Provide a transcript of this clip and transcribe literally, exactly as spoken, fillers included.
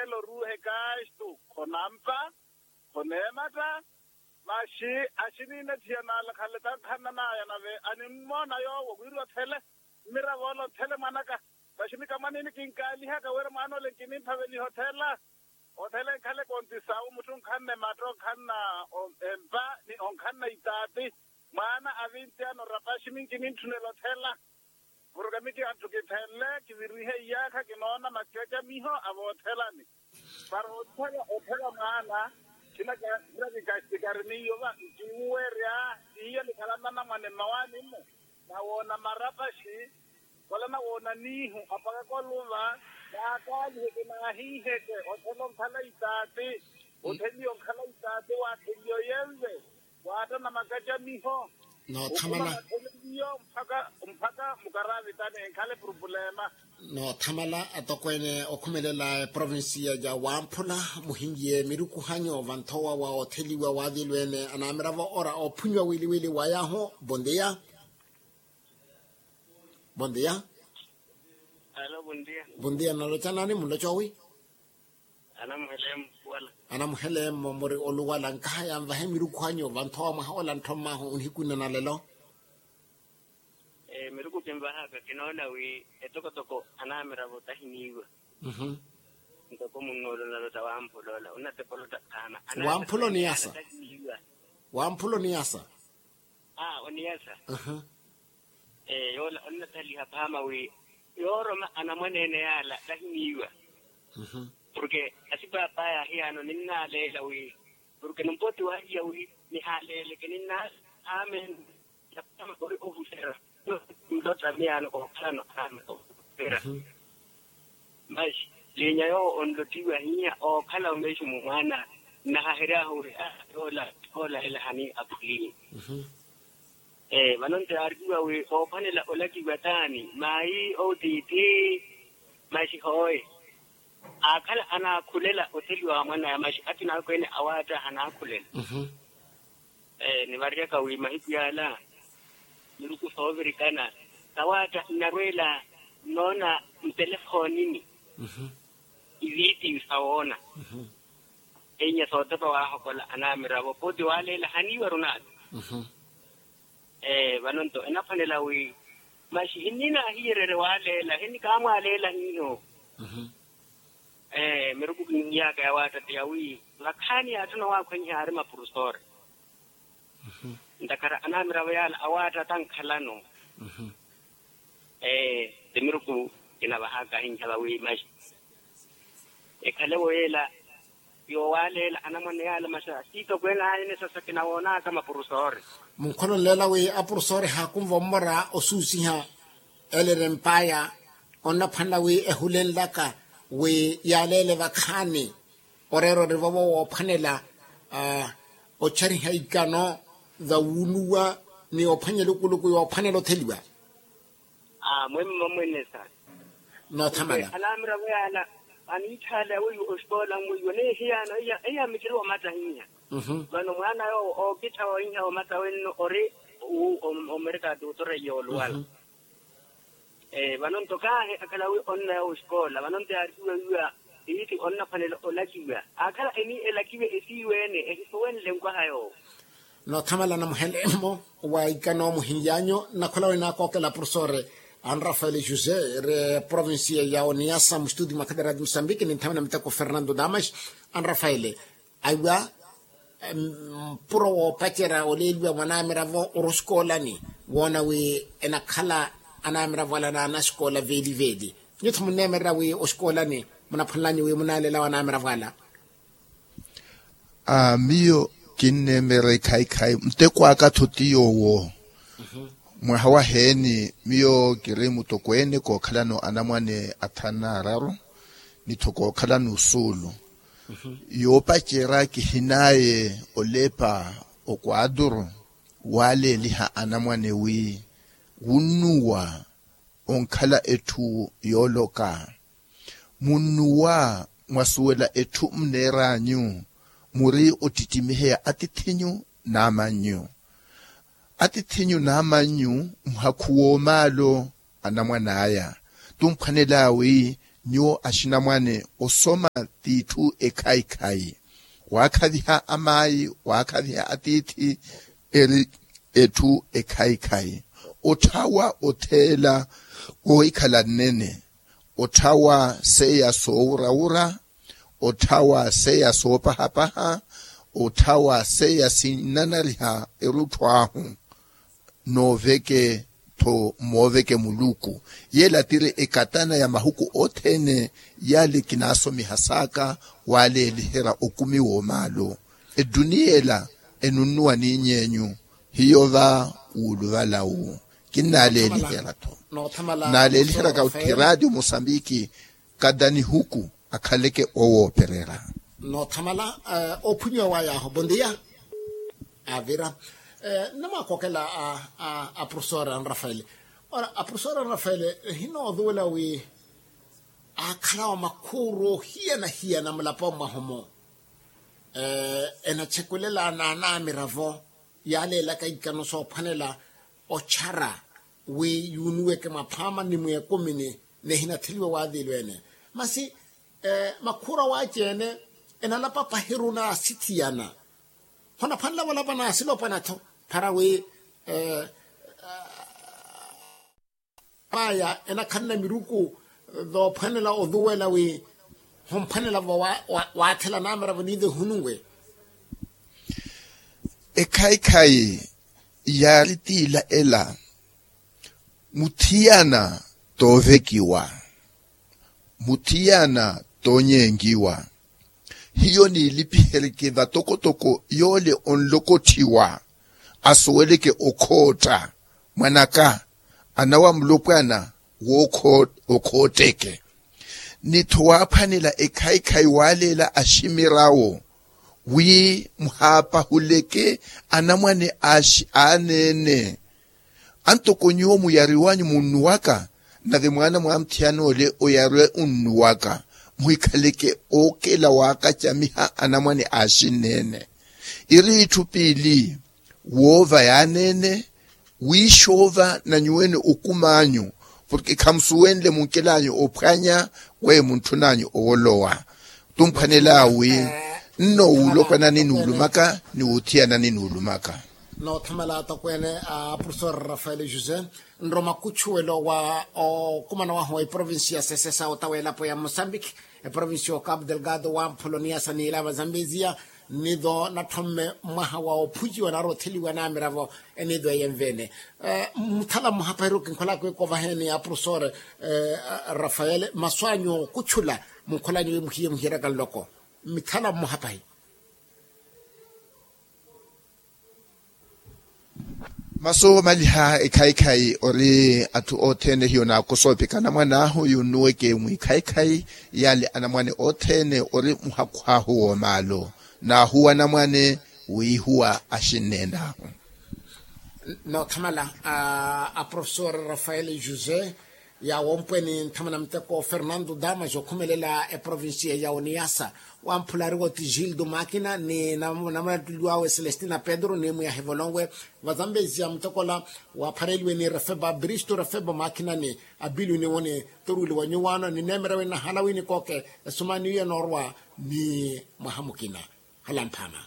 Elo oruuhe kastu khonampa, khoneematta. Maxi axiniina ethiya naale khale tankhanna naya nave animmoona yoowo wiri othele. Mmiravo ole othele mwanaka. Maxi mikamwanini kinkaalihaka wira mwaana ole nkinimphaveliha othela. Othela enkhale kontisawu mutthu onkhanna ematta onkhanna empa ni onkhanna itaati. Mwaana avinti ano rapaxi minkinintthunela othela. Porke miki anthu kithenle kivirihe iyaakha kinoona makacamiho a voothelani. Para othela othela mwaana. Khina kikastikari miyo va nkiwuwerya. Iyo nikhala nanamwane mmawaani-mo. Nawoona marapaxi. Wala nawoona niihu apakaka oluva. Naakaalihe kinaahiiheke othela onkhala itaati. Otheliwa onkhala itaati waatheliwa oyenve. Waatta na makacamiho. Noothamala. Okhuma matheleliyo mpakha mpakha mukaraavitani enkhale purupulema. Noothamala atokweene okhumelela eprovincia ya wamphula muhinyiye mirukuhanyo vanthowa wa otheliwa waavilweene anaamiravo ora ophunyiwa wiliwili wayahu. Bondia. Bondia. Alo bondia. Bondia naloca nani muloca owi? Anamuhele mmo oluwala. Anamuhele mmo muri oluwala nkaha yanvahe mirukuhanyu vanthowa mwaha ola ntho mmahu onihikunana lelo. Miruku kinvahaka kinoona wi etokotoko anamiravo tahiniiwa. Ntoko munnoolo nalota wamphula ola onatepolota. Wamphula oniyasa. Wamphula oniyasa. Oniyasa. Yoola onnathaliha phaama wi yooroma anamwaneene yaala tahiniiwa. Porke asipaapaya ahiyaano ninnaleela wi porke nimpoti wahiya wi nihaleeleke ninnaleela. Amen. Yapama ori ohuserya. Nlota miyaano kookhalano amen. Ohuserya. Masi liinya yoowo onlotiwa hiya ookhala omeximu mwaana nnahahery'ahu ori a yoola. Oolahela hani aphulini. Vano nti yaarikiwa wi oophwanela olakiwa taani maayi outiithi. Masi hooye aakhala anaakhulela otheliwa wa mwanaya masi akina akweene awaatta hanaakhulela. Nivaryaka wi mahiku yaala miruku soovirikana sawaatta nnarweela nnoona ntelefoonini. Iviitiyu sawoona. Enya sootepa waahokola anamiravo pooti waaleela haniiwaru naata. Vano nto enaphwanela wi maxi hinninaahiyererye waaleela hinnikaamwaaleela hiiho. Miruku kinihiyaka yawaattatte yawi vakhaani yaatthuna waakhwenyiha aari mapurusori. Ntakhara anamiravo yaala awaatta tankhalano. Ee ti miruku kinavahaka ahinhela wi maxi ekhalevo yeela. Yoowaaleela anamwane yaala maxi asiitokweene aayene sasa kinawoonaka mapurusori. Munkholonleela wi apurusori haakunva ommora osuusiha elere mpaya onnaphwanela wi ehulenlaka wi yaaleele vakhaani. Oreera orivovo woophwanela otchariha ikano vawunuwa ni ophwanya elukuluku yoophwanela otheliwa. Mwemma mwene sa noothamala. Anamiravo yaala aniitthaaleya weiwo osikoola mweiwo neehiyaano eya mmittiri woomattahiha. Vano mwaana yoowo ookittha woohiha woomatta wenno ori omerika tuutoreiya oluwala. Vano nto kaahi akhala wi onnaya osikoola vano nto yaarikiwa wiiwa iiti onnaphwanela olakiwa. Aakhala eni elakiwe esiiwe-ene ehisuwenle nkwaha yoowo. Noothamala namuhele mmo wa ikano muhinlyanyu. Nnakhola wi naakookela porofesore anrafaele josé ri provincia ya oniyasa mustudi mwa khadera di musambiki ninthamela miteko fernando damas. Anrafaele aiwa mpuro woopacerya oleeliwa mwa anamiravo ori osikoolani woona wi enakhala anamiravo ala n'anasikoola veeli veeli. Nyutho munneemererya wi osikoolani munaphwanelanye wi munaaleelawe anamiravo ala. Miyo kinneemererya ekhaikhai muteko aka-tho ti yoowo. Mwaha waheeni miyo kiri mutokweene kookhalano anamwane athanu n'araru ni-tho kookhalano osuulu. Yoopacerya kihinaaye olepa okwaaturu waaleeliha anamwane wi wunnuwa onkhala etthu yooloka. Munnuwa mwasuwela etthu muneer'anyu muri ottittimiheya atiith'inyu n'amannyu. Atiith'inyu n'amannyu muhakhuwa omaalo anamwan'aya. Tumphwanela wi Nyuwo axinamwane, osoma t'itthu ekhayi-khayi. Waakhaviha amaayi, waakhaviha atiithi, eri etthu ekhayi-khayi. Otthawa otheela wohikhala nnene. Otthawa seiya soowura-wura. Otthawa seiya soopaha-paha. Otthawa seiya sinnanariha erutthu ahu. Nooveke-tho mmooveke muluku. Yeela tiri ekatana ya mahuku othene. Yaale kinaasomiha saaka waaleeliherya okumi w'omaalu. Eduniya ela enunnuwa niiny'enyu. Hiyo va wuuluvala wu kinnaaleeliherya-tho. Naaleeliheryaka ottiraati omusambiki kada nihuku akhaleke owoopererya. Noothamala ophunyiwa waya aho bondia. Avira. Nnamwaakookela a profesora nrafaele. Ora a profesora nrafaele, ehinoozuwela wi aakhalawa makhuuru ohiyana-hiyana mulaponi mwahu-mo. Enatxekulela n'anamiravo yaaleelaka ikano soophwanela otxara wi yuunuweke mwaphama ni mweekumini. Nihinatheliwe waaviilweene masi makhuura waaci-ene enalapa pahiru naasithiyana. Honaphwanela valapa naasilopwana-tho para wi maya enakhanna miruku voophwanela ozuwela wi homphwanelavo waathela namiravo niive hununwe. Ekhayi-khayi yaari tiila ela. Muthiyana toovekiwa. Muthiyana toonyenkiwa. Hiyo niilipihereke vatokotoko yoole onlokotthiwa asuweleke okhootta mwanaka anawa mulopwana w'okhootteke. Ni-tho waaphwanela ekhayi-khayi waaleela aximirawo wi muhaapahuleke anamwane aneene. Antoko nyuwo muyariwanyu munnuwaka nave mwaana mwa muthiyana ole oyariwe unnuwaka. Muhikhaleke ookela waakacamiha anamwane axinneene. Iri itthu piili woova yaaneene wiixoova na nyuweene okum'anyu porke khamusuwenle munkel'anyu ophwanya weyo muntthun'anyu owolowa. Tumphwanel'awi nno wuulopwanani nuulumaka ni wuuthiyanani nuulumaka. Noothamala atokweene a profesor rafael josé nroma kutchuwelo wa okumana wahu wa eprovinsi ya sesesa otawa elapo ya mosambiki eprovinsi ya okapu delgado wa mpholoniya sa niila vazambezia nido nathomme mwaha wa ophuciwa nari otheliwa namiravo enido eyenvene. Muthala mwaha pahiru kinkholaka ikovaheeni a profesor rafael masu anyu okutchula munkholanyu wi muhiye muhiyeraka nloko mithala mwaha pahi. Masu omaliha ekhayikhayi ori atthu othene hiyo naakosoopika anamwane ahu yunnuweke mwikhayikhayi yale anamwane othene ori muhakhuhahu womaalu naahuwa anamwane wiihuwa axinnene ahu. Noothamala a profesor rafael josé yaawompwe ni nthamana muteko fernando damas okhumelela eprovincia ya uniasa wamphula ariwo ti gildo makina ni namulattuliwawe celestina pedro ni mwiyahivolonwe vazambezia mutekola waphareliwe ni refeba bristo refeba makina ni abilio ni woni toruweliwa nyuwaano ni neemera wi nahala wi nikooke esumani iyo enoorwa ni mwaha mukina. Hala mphama.